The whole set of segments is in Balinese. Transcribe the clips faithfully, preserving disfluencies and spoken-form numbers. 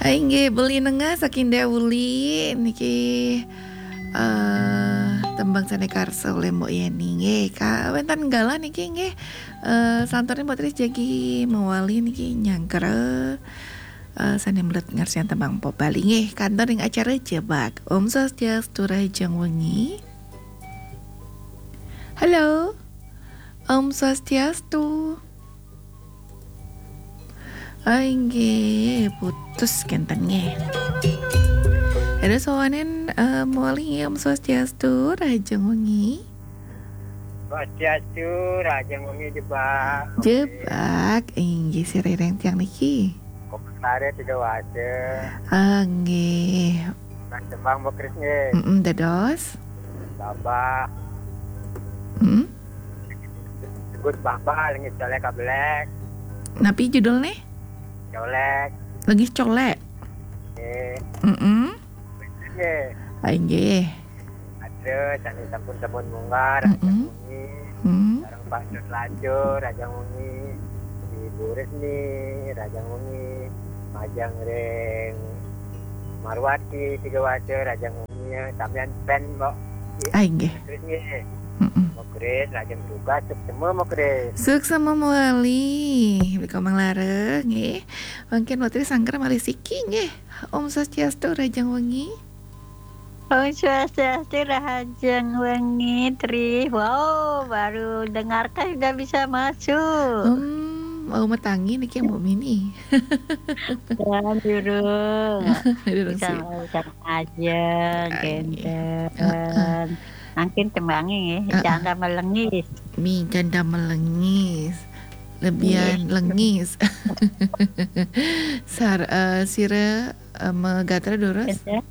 Hai nggih, Beli Nengah saking Dauli niki, eh, tembang sane karsa oleh Mbok Yeni nggih. Ka wenten galah niki nggih, eh, santunin Mbok Tris jagi mewali niki nyangkera, eh, sane mlet ngarsian tembang pop Bali nggih. Kantun ring acara Jebak. Om Swastiastu, rahajeng wengi. Halo. Om Swastiastu. Ah, inggih, putus kenten nggih. Ada sowanen, eh, mewali nggih, Om Swastiastu, rahajeng wengi. Swastiastu, rahajeng wengi Jebak. Jebak, inggih sira ring tiang niki. Kok sare tiga waja. Ah, nggih. Mas Jebak Mbok Kris nggih. Mm-mm, dados. Babah. Hmm? Sebut Babah, lengis colek kabelek. Napi judulne? Colek. Lengis colek. Nggih. Mm-mm. Nggih. Ah, inggih. Ada, sami sampun sampun munggah, Mm-mm. Rahajeng wengi. Hmm. Sareng Pak Dut Lajo, rahajeng wengi. Ibu Resmi, rahajeng wengi. Majeng ring Marwati, tiga waja, rahajeng wengi. Sampeyan pen, Mbok. Ah, inggih. Kris nggih. Mm-mm. Mbok Kris, rahajeng tugas, suksema Mbok Kris. Suksema mewali. Rika manglara, nggih. Mangkin Mbok Tris sangker malih siki, nggih. Om Swastiastu, rahajeng wengi. Om Swastiastu, rahajeng wengi, Tri. Wow, baru dengarkan sudah bisa masuk. Hmm, mau matangi niki Mbok Mini. Durung, durung. Durung bisa sih. Mau ajeng, ah, nggih. Kenten. Heeh. Mangkin tembange nggih, heeh. Janda melengis. Mi janda melengis. Lebihan, nggih, lengis. Sar-, eh, sira, eh, magatra durus? Kenten.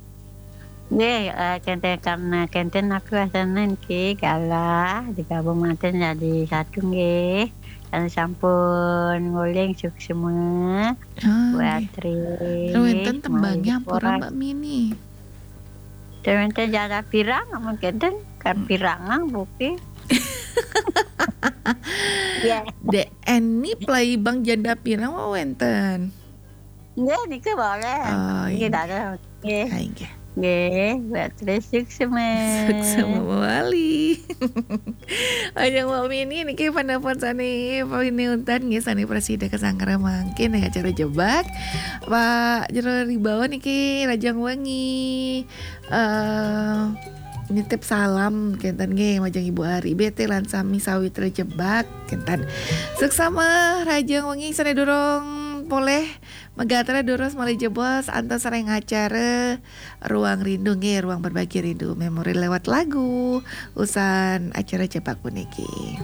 Nggih, eh, kenten, karena kenten aku asana niki galah digabung manten jadi satu nggih. Karena sampun nguling suksema. Ah, buat nggih. Tri. Terus wenten tembangnya ampura, Mbok Mini? Terus wenten janda pirang, amun kenten, kan, hmm, pirang, ah, buki. Ya. Dek Eni play bang janda pirang, wah, wenten. Nggih, niki boleh. Oh, nggih, inggih. Dados. Nggih. Ah, inggih. Nggih, Mbok Tris suksema. Suksema mewali. Ajeng Mbok Mini niki penelpon sane paling untat nggih sane prasida kasanggra mangkin ring acara Jebak. Pak Jero Ribawa niki rahajeng wengi. Eh, nitip salam kenten nggih majeng Ibu Ari B T lan sami sawitra Jebak kenten. Suksema rahajeng wengi sane durung polih magatra durus malih jebos antos ring acara Ruang Rindu nggih, Ruang Berbagi Rindu Memori lewat lagu usan acara Jebak puniki.